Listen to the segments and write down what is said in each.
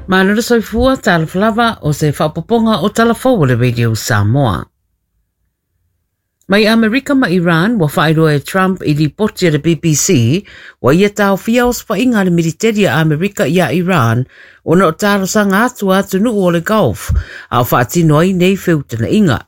Malo le soifua, talofa lava, o se faaopoopoga o Tala Fou a le Radio Samoa. Mai Amerika ma Iran, ua faailoa e Trump i lipoti a le BBC, ua ia taofia osofaiga a le militeri a Amerika iā Iran ona o talosaga atu a atunuu o le Gulf a o faatino ai nei feutagaiga.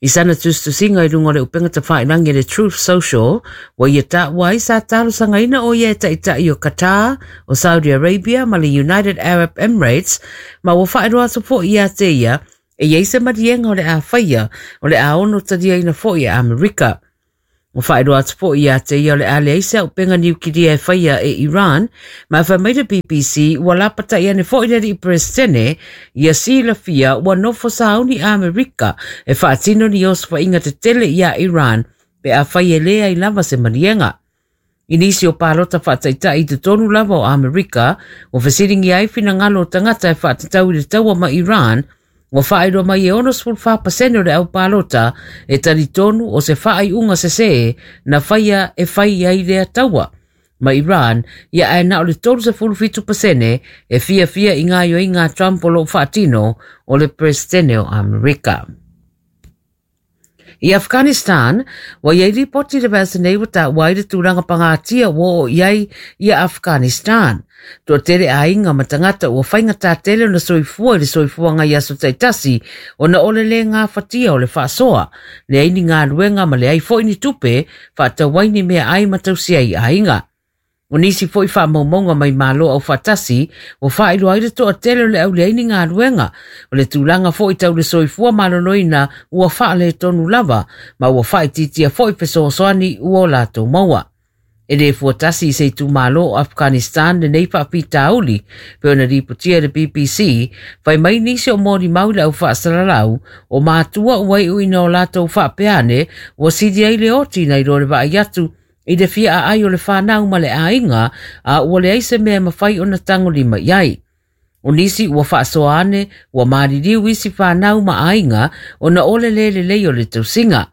I sana tusitusiga i luga o le upega tafailagi a le Truth Social, ua ia taua ai sa talosagaina o ia e taitai o Qatar, o Saudi Arabia ma le United Arab Emirates, ma ua faailoa atu foi ia te ia e i ai se maliega o le a faia, o le a ono taliaina foi e Amerika. Ua faailoa atu foi ia te ia o le a leai se auupega niukilia e faia e Iran, ma e fai mai le BBC ua lapatai ane foi le alii Peresetene ia silafia ua nofo sauni Amerika e faatino ni osofaiga tetele iā Iran pe afai e leai lava se maliega. I nisi o palota faataitai i totonu lava o Amerika, ua fesiligia ai finagalo o tagata e faatatau i le taua ma Iran, ua faailoa mai e 64% o le au palota e talitonu o se faaiuga sesē na faia e fai ai lea taua ma Iran, ia ae na o le 37% e fiafia i gaoioiga a Trump o lo o faatino o le Peresetene o Amerika. I Afghanistan, ua i ai lipoti i le vaiaso nei ua taua ai le tulaga pagatia ua oo i ai ia Afghanistan. Toatele aiga ma tagata ua faigata tele ona soifua i le soifuaga i aso taitasi ona o le le gafatia o le faasoa, leai ni galuega ma leai foi ni tupe faatau ai ni meaai ma tausi ai aiga. O nisi foi faamaumauga mai Malo Aufaatasi ua faailoa ai le toatele o le au leai ni galuega, o le tulaga foi tau le soifua maloloina ua faaletonu lava ma ua faaitiitia foi fesoasoani ua o latou maua. E le fuatasi i se itumalo o Afghanistan lenei faafitauli, pei ona lipotia e le BBC, fai mai nisi o molimau i le au faasalalau, o matua ua iuina o latou faapea ane ua sili ai le oti nai lo le vaai atu i le fia aai o le fanau ma le aiga, a ua leai se mea e mafai ona tagolima i ai. O nisi ua faasoa ane, ua maliliu isi fanau ma aiga ona o le le lelei o le tausiga.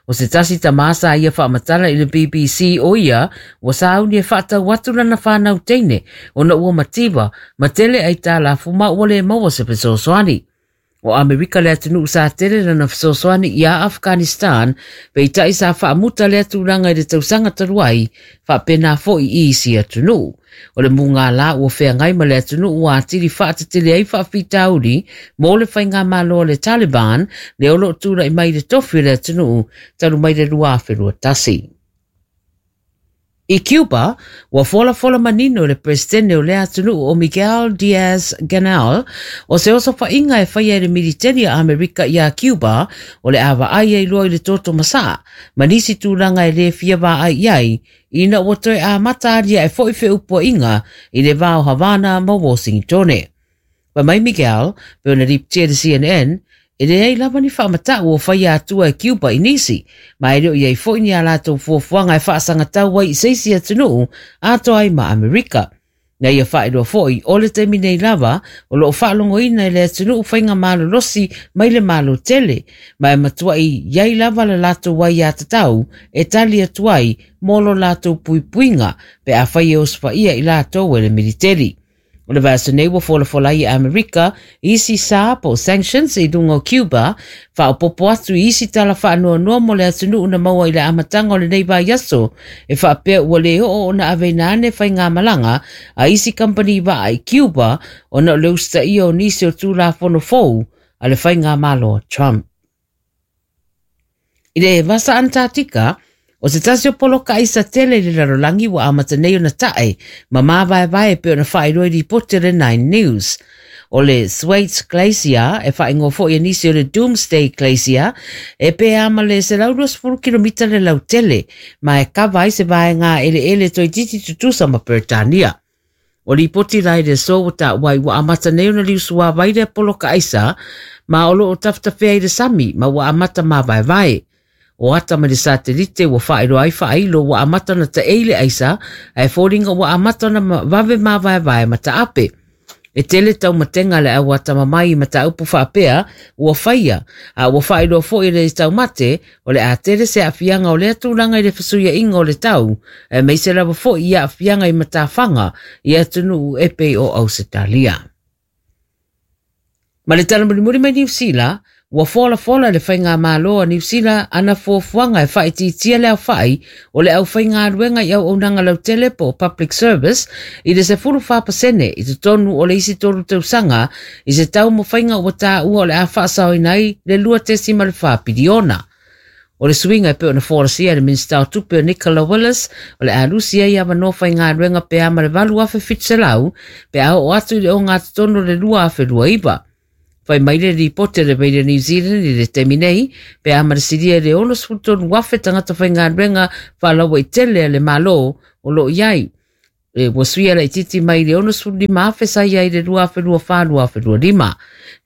O se tasi tamā sa ia faamatala i le BBC o ia ua sauni e faatau atu lana fanau teine ona ua mativa ma tele aitalafu ma ua le maua se fesoasoani. O Amerika le atunuu sa tele lana fesoasoani iā Afghanistan, peitai sa faamuta lea tulaga i le tausaga talu ai, faapena foi i isi atunuu. O le mugala ua feagai ma le atunuu ua atili faatetele ai faafitauli mo le faigamalo a le Taliban lea o lo o tulai mai i le tofi o le atunuu talu mai le 2021. I Cuba, ua folafola manino e le Peresetene o lea atunuu o Miguel Diaz-Canel o se osofaiga e faia e le militeri a Amerika iā Cuba o le a vaai ai loa i le toto masaa ma nisi tulaga e le fia vaai i ai ina ua toe amata aliae foi feupuaiga i le va o Havana ma Washingtone. Fai mai Miguel, pei ona lipotia i le CNN, e leai lava ni faamatau o faia atua e Cuba i nisi, ma e le o i ai foi ni a latou fuafuaga e faasagatau ai i se isi atunuu atoa ai ma Amerika. Na ia faailoa foi, o le taimi nei lava, o lo o faalogoina e le atunuu faiga malolosi mai le Malo tele, ma e matuai i ai lava le latou aiatatau e tali atu ai mo lo latou puipuiga pe afai e osofaia i latou e le militeri. O le vaiaso nei ua folafola ai e Amerika i isi sa po o sanctions i luga o Cuba, faaopoopo atu i isi tala faanoanoa mo le atunuu na maua i le amataga o lenei vaiaso, e faapea ua le oo ona aveina ane faigamalaga a isi kamupani vaa i Cuba ona o le usitaia o nisi o Tulafono fou a le faigamalo a Trump. I le Vasa Antarctica, o se tasi o poloka aisa tele i le lalolagi ua amata nei ona tae ma māvaevae e pei ona faailoa i lipoti a le Nine News. O le Thwaites Glacier, e faaigoa foi e nisi o le Doomsday Glacier, e pē ma le 120 kilomita le lautele, ma e kava ai se vaega eleele toeitiiti tutusa ma Peretania. O lipoti la i le aso ua taua ai ua amata nei ona liusuavai lea poloka aisa ma o lo o tafetafea i le sami ma ua amata māvaevae. O ata mai le satelite ua faailoa ai faailo ua amata ona taei le aisa ae foliga ua amata ona vave māvaevae ma taape. E tele taumatenga a le au atamamai i mataupu faapea ua faia, a ua faailoa foi e le taumate o le a tele se aafiaga o lea tulaga i le fesuiaiga o le tau, aemaise lava foi i aafiaga i matafaga i atunuu e pei o Ausetalia. Ma le tala mulimuli mai Niu Sila, ua folafola e le Faigamalo a Niu Sila ana fuafuaga e faaitiitia le aofai o le aufaigaluega i auaunaga lautele po o public service i le 14% i totonu o le isi tolu tausaga i se taumafaiga ua taua o le a faasaoina ai le 2.4 piliona. O le suiga e pei ona folasia e le Minisita o Tupe o Nicola Willis, o le a lusi ai avanoa faigaluega pe a ma le 8,700 pe a oo atu i le ogatotonu o le 2029. Fai mai le lipoti a le Radio New Zealand i le taimi nei, pe a ma le silia i le 63,000 tagata faigaluega faalauaitele a le Malo o lo o i ai. E ua suia laitiiti mai le 65,000 sa i ai i le 2024-2025.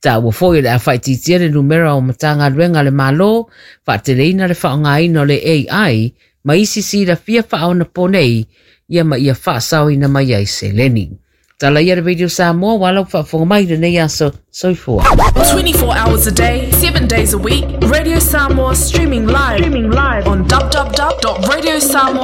Taua foi o le a faaitiitia le numera o Matagaluega a le Malo, faateleina le faaaogaina o le AI ma isi silafia faaonaponei ia ma ia faasaoina mai ai seleni. Tala ia le Radio Samoa ua lau faafofoga mai lenei aso. Soifua. 24 hours a day, 7 days a week, Radio Samoa streaming live, streaming live on www.radiosamoa.co.